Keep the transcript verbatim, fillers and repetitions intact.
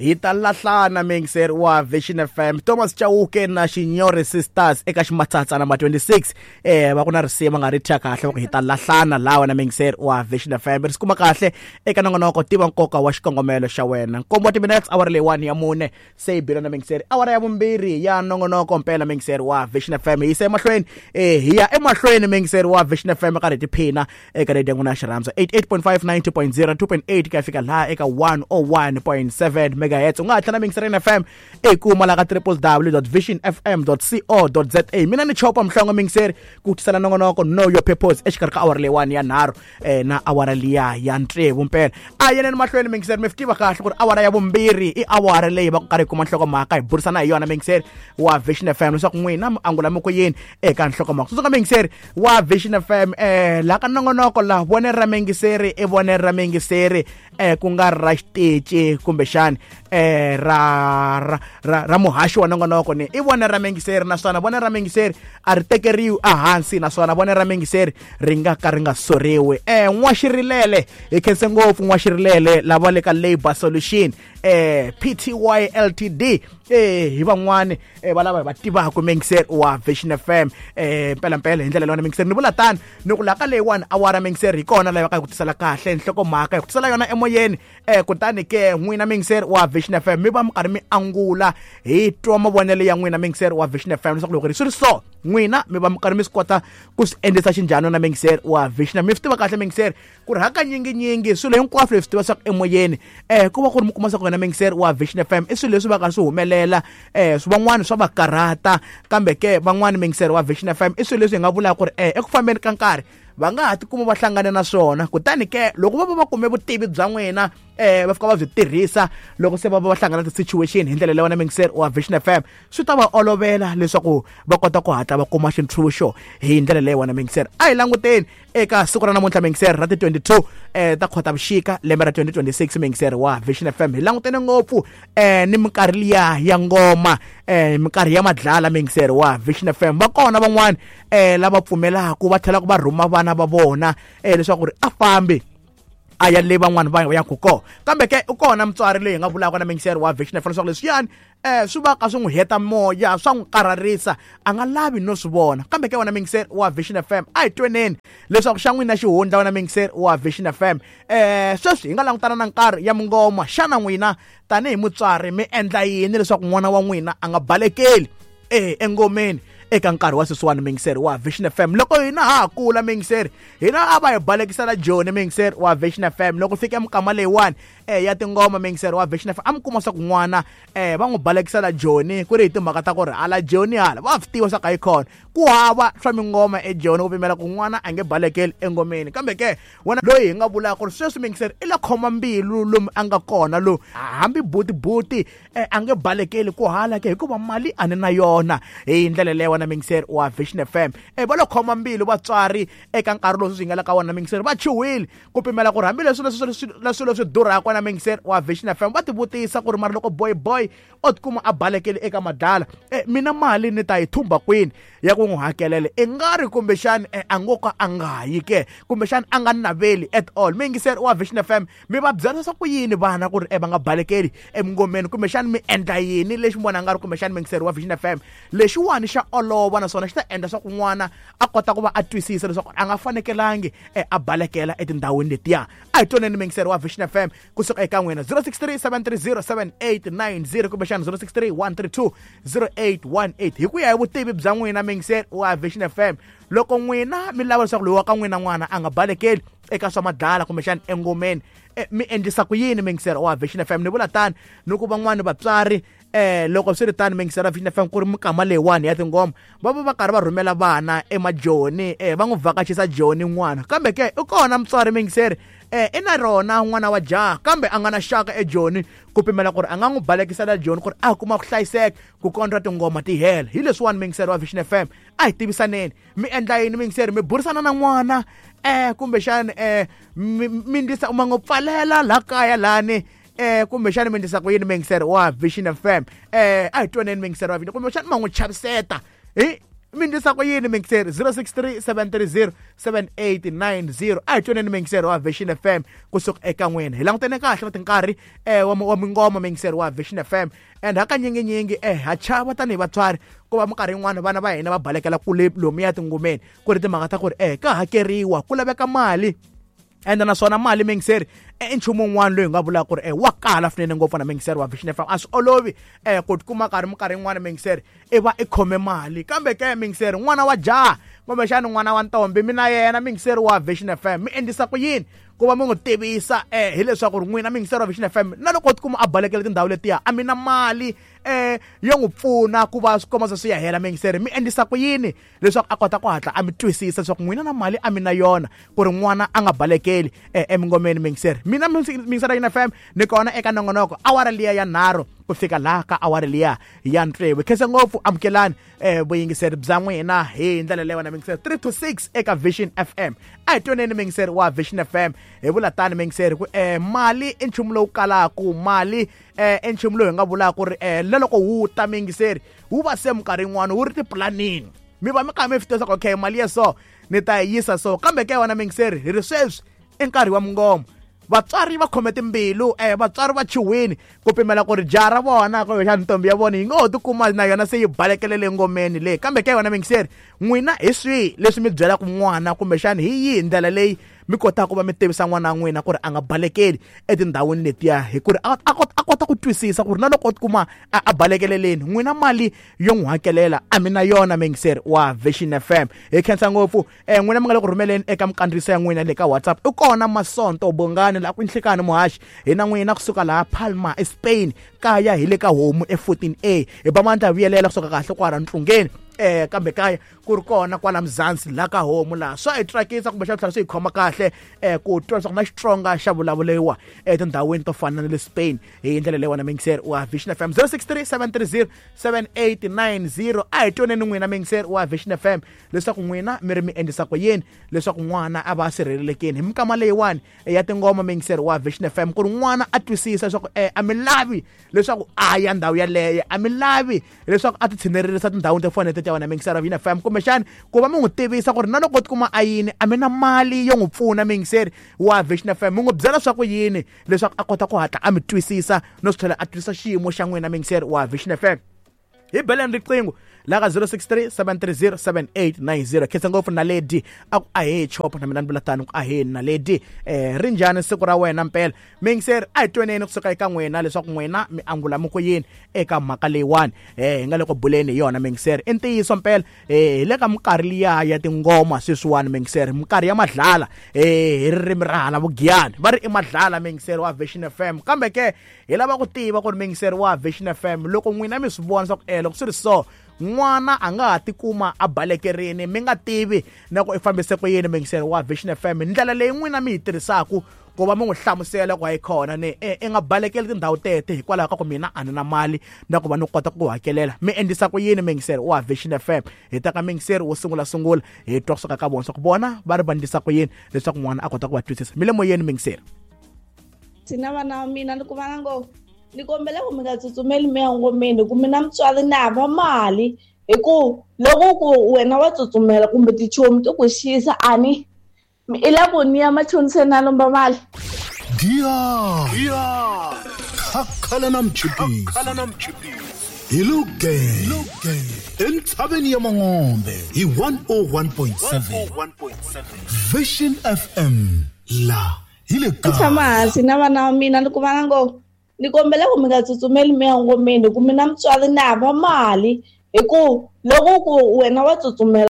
Hi ta lahlana mixer wa Vision F M Thomas Chauke na Xinyori Sisters eka ximatsatsa number twenty-six eh va ku na risimu nga ri thya kahle va ku hi ta lahlana lawa na mixer wa Vision F M ri kuma kahle eka nongonoko tiva nkoka wa xikongomelo xa wena nkombo wa minutes hour leyi one ya mune se yi bile na mixer awara ya vumbirhi ya nongonoko mpela mixer wa Vision F M hi yisa emahlweni eh hi ya emahlweni mixer wa Vision F M ka ri tiphina eka radio n'wina xirhandza eighty-eight point five ninety point zero two point eight ka fika laha eka one oh one point seven megahertz u nga tlhela mixer F M e kuma la ka w w w dot vision f m dot co dot z a mina ni chopa mhlongo mixer ku tisela nongonoko know your purpose exikarhi ka awara leyi one ya nharhu eh na awara liya ya ntsevu mpela a yeneni mahlweni mixer mi tiva kahle ku ri awara ya vumbirhi i awara leyi va ku karhi kuma nhlokomhaka hi burisana hi yona mixer wa Vision F M leswaku n'wina mi angula mi ku yini eka nhlokomhaka tsundzuka mixer wa Vision F M eh la ka nongonoko la vone ra mingiseri i vone ra mingiseri eh ku nga ra xitici kumbexani eh ra ra ra, ra muhaxi wa nongonoko ni i vone ra mingiseri naswona vone ra mingiseri a ri tekeriwi ehansi naswona vone ra mingiseri ri nga ka ri nga soriwi eh n'waxirilele hi khense ngopfu n'waxirilele lava le ka Labor Solution eh P T Y L T D eh hi van'wani eh va lava va tivaka mixer wa Vision F M eh mpela mpela hi ndlela leyi mixer ni vula tani ni ku laka leyi one awara mixer hi kona leyi va ka ku tisela kahle nhlokomhaka hi ku tisela yona emoyeni eh kutani ke n'wina mixer wa Vision F M mi va mi karhi mi angula hi twa mavonelo ya n'wina mixer wa Vision F M leswaku loko ri swi ri so n'wina mi va mi karhi mi swi kota ku swi endlisa xinjhani na mixer wa Vision mi swi tiva kahle mixer ku ri hakanyinginyingi swilo hinkwaswo leswi tiva swa emoyeni eh ku va ku ri mi kuma swa ku wena mixer wa Vision F M i swilo leswi va ka swi humelela eh van'wani swa va karhata kambe ke van'wani mixer wa Vision F M i swilo leswi hi nga vulaka ku ri eh eku fambeni ka nkarhi va nga ha tikuma va hlangane na swona kutani ke loko va va va kume vutivi bya n'wina eh va fika va byi tirhisa loko se va va va hlangana na ti-situation hi ndlela leyi wena mixer wa Vision F M swi ta va olovela leswaku va kota ku hatla va kuma xintshunxo hi ndlela leyi wena mixer a hi languteni eka siku ra namuntlha mixer ra ti twenty-two eh ta Khotavuxika lembe ra twenty twenty-six mixer wa Vision F M hi langutene ngopfu eh ni minkarhi liya ya ngoma eh minkarhi ya madlala mixer wa Vision F M va kona van'wani eh lava pfumelaka va tlhela ku va rhuma vana va vona eh leswaku ri a fambi a ya le van'wani va ya ku kona kambe ke u kona mutswari leyi hi nga vulaka na mixer wa Vision F M leswaku leswiyani eh swi va ka swi n'wi heta moya swa n'wi karharisa a nga lavi no swi vona kambe ke wena mixer wa Vision F M a hi tweneni leswaku xa n'wina xihundla wena mixer wa Vision F M eh sweswi hi nga langutana na nkarhi ya mungoma xana n'wina tanihi mutswari mi endla yini leswaku n'wana wa n'wina a nga balekeli eh engomeni eka nkarhi wa sweswiwani mixer wa Vision F M loko hina ha kula mixer hina a va hi balekisela Joni mixer wa Vision F M loko fika mikama leyiwani eh ya tingoma mixer wa Vision F M a mi kuma swa ku n'wana eh va n'wi balekisela Joni ku ri hi timhaka ta ku ri hala Joni hala va swi tiva swa ka yi kona ku hava swa mingoma eJoni ku pimela ku n'wana a nge balekeli engomeni kambe ke wena loyi hi nga vulaka ku ri sweswi mixer i la khoma mbilu lomu a nga kona lowu hambi butibuti eh, a nge balekeli ku hala ke hikuva mali a ni na yona hi ndlela leyi wena mixer wa Vision F M eh va lo khoma mbilu vatswari eka nkarhi lowu swi nga le ka wona mixer va chuhile ku pimela ku ri hambileswi leswi leswi leswi durhaka na mixer wa Vision F M va tivutisa ku ri mara loko boy boy o tikuma a balekele eka madlala eh mina mali ni ta yi thumba kwini ya ku n'wi hakelela i nga ri kumbexani eh, a ngo ka a nga yi ke kumbexani a nga naveli at all mixer wa Vision F M mi va byela swa ku yini vana ku ri eh va nga balekeli emingomeni kumbexani mi endla yini lexi mi vona nga ri kumbexani mixer wa Vision F M lexiwani xa olova naswona xi ta endla swa ku n'wana a kota ku va a twisisa leswaku a nga fanekelangi eh, a balekela etindhawini letiya a hi twaneni mixer wa Vision F M kusuka eka n'wina zero six three seven three zero seven eight nine zero kumbexani zero six three one three two zero eight one eight hi ku ya hi vutivi bya n'wina mixer wa Vision F M loko n'wina mi lava leswaku loyi wa ka n'wina n'wana a nga balekeli eka swa madlala kumbexani engomeni eh, mi endlisa ku yini mixer wa Vision F M ni vula tani ni ku van'wani vatswari eh loko swi ri tani mixer wa Vision F M ku ri mikama leyiwani ya tingoma va va va karhi va rhumela vana emajoni eh va n'wi vhakachisa Joni n'wana kambe ke i kona mutswari mixer eh i na rona n'wana wa jaha kambe a nga na xaka eJoni ku pimela ku ri a nga n'wi balekisela Joni ku ri a kuma ku hlayiseka ku kondza tingoma ti hela hi leswiwani mixer wa Vision F M a hi tivisaneni mi endla yini mixer mi burisana na n'wana eh kumbexani eh mi ndlisa ma n'wi pfalela laha kaya lani eh kumbexani mi ndlisa ku yini mixer wa Vision F M eh a hi twaneni mixer wa Vision kumbexani ma n'wi chaviseta hi Mi ndlisa ku yini mixer? zero six three seven three zero seven eight nine zero. A hi twaneni mixer wa Vision F M kusuka eka n'wina. Hi langutene kahle na tinkarhi eh wa wa mingoma mixer wa Vision F M. And hakanyinginyingi eh ha chava tanihi vatswari ku va minkarhi yin'wana vana va hina va balekela kule lomuya tingomeni ku ri timhaka ta ku ri eh ka hakeriwa ku laveka mali. Ende naswona mali mixer i nchumu wun'wana loyi hi nga vulaka ku ri eh wa kala swinene ngopfu na mixer wa Vision F M. A swi olovi eh ku tikuma karhi minkarhi yin'wana mixer i va i khome mali, kambe ke mixer n'wana wa jaha kumbexana n'wana wa ntombi mina yena mixer wa Vision F M mi endlisa ku yini ku va mi n'wi tivisa eh hileswaku ri n'wina mixer wa Vision F M na loko u tikuma a balekela tindhawu letiya a mi na mali eh yo n'wi pfuna ku va swi komba swi ya hela mixer mi endlisa ku yini leswaku a kota ku hatla a mi twisisa leswaku n'wina na mali a mi na yona ku ri n'wana a nga balekeli eh emingomeni mixer. Mina mixer ya F M ni kona eka nongonoko awara liya ya nharhu ku fika laha ka awara liya ya tsevu. Khensa ngopfu amukelani eh vuyingiseri bya n'wina hi ndlela leyi wena mixer three to six eka Vision F M. A hi twaneni mixer wa Vision F M hi vula tani mixer ku eh mali i nchumu lowu kalaku, mali eh i nchumu lowu hi nga vulaka ku ri eh na loko wu ta mixer wu va se minkarhi yin'wana wu ri tiplanini mi va mi kha mi swi tiva leswaku okay mali ya so ni ta yi yisa so, kambe ke wena mixer hi ri sweswi i nkarhi wa mingoma. Vatswari va khome timbilu eh vatswari va chuhwini ku pimela ku ri jaha ra vona kumbexana ntombi ya vona yi ngo ho tikuma na yona se yi balekelele ngomeni leyi, kambe ke yona mixer n'wina hi swihi leswi mi byelaka n'wana kumbexana hi yihi ndlela leyi mi kotaka ku va mi tivisa n'wana wa n'wina ku ri a nga balekeli etindhawini letiya hi ku ri a a kota ku twisisa ku ri na loko o tikuma a balekeleleni n'wina mali yo n'wi hakelela a mi na yona mixer wa Vision F M. Hi khensa ngopfu eh n'wina mi nga le ku rhumeleni eka minkandziyiso ya n'wina le ka WhatsApp. I kona Masonto Bongani la ku nhlikani muhaxi hi na n'wina kusuka laha Palma eSpain kaya hi le ka homu e fourteen A hi ba mandla vuyelela kusuka kahle kwala ntlungeni eh kambe kaya ku ri kona kwala Mzansi la ka homu laha swa hi tsakisa kumbe xa tlhela swi hi khoma kahle eh ku twa leswaku na Xitsonga xa vulavuriwa etindhawini to fana na le Spain hi ndlela leyi wena mixer wa Vision F M. zero six three seven three zero seven eight nine zero. A hi twaneni n'wina mixer wa Vision F M leswaku n'wina mi ri mi endlisa ku yini leswaku n'wana a va sirhelelekeni hi minkama leyiwani ya tingoma mixer wa Vision F M ku ri n'wana a twisisa leswaku eh a mi lavi leswaku a ya ndhawu yaleyo, a mi lavi leswaku a ti tshinelerisa tindhawini to fana na ta wena mixer wa Vision F M, kumbexana ku va mi n'wi tivisa ku ri na loko tikuma a yini a mi na mali yo n'wi pfuna mixer wa Vision F M mi n'wi byela swa ku yini leswaku a kota ku hatla a mi twisisa no swi tlhela a twisisa xiyimo xa n'wina mixer wa Vision F M. Hi beleni riqingho la ka zero six three seven three zero seven eight nine zero. Khensa ngopfu Naledi a ku ahee chopa na mina ni vula tani ku ahee Naledi eh ri njhani siku ra wena mpela mixer? A hi twaneni kusuka eka n'wina leswaku n'wina mi angula mi ku yini eka mhaka leyiwani eh hi nga le ku buleni hi yona mixer. I ntiyiso mpela eh hi le ka minkarhi liya ya tingoma sweswiwani mixer, minkarhi ya madlala eh hi ririmi ra hala Vugiyani va ri i madlala mixer wa Vision F M, kambe ke hi lava ku tiva ku ri mixer wa Vision F M loko n'wina mi swi vona leswaku eh loko swi ri so n'wana a nga ha tikuma a balekerini mi nga tivi na ku i fambise ku yini mixer wa Vision F M, ndlela leyi n'wina mi yi tirhisaka ku va mi n'wi hlamusela ku hayi khona ni i nga balekeli tindhawu tete hikwalaho ka ku mina a ni na mali na ku va ni kota ku hakelela mi endlisa ku yini mixer wa Vision F M? Hi ta ka mixer wo sungula sungula hi twa kusuka ka vona swa ku vona va ri va endlisa ku yini leswaku n'wana a kota ku va twisisa. Mi le moyeni mixer. Thina vana wa mina ni kuma na ngo ni kombela ku mi nga tsutsumeli mi ya ngomeni ku mina mutswari ni hava mali hi ku loko ku wena wa tsutsumela kumbe tichomi ti ku xisa a ni i la ku ni ya machoniseni na lomba mali. Diya khakhala na mchipisi hi Lugenge entshaveni ya Mangombe hi one oh one point seven Vision F M la hi le kaya. Tshama hansi na vana wa mina ni kuma na ngo ni kombela ku mi nga tsutsumeli mi ya ngomeni ku mina mutswari ni hava mali hi ku loko ku wena wa tsutsumela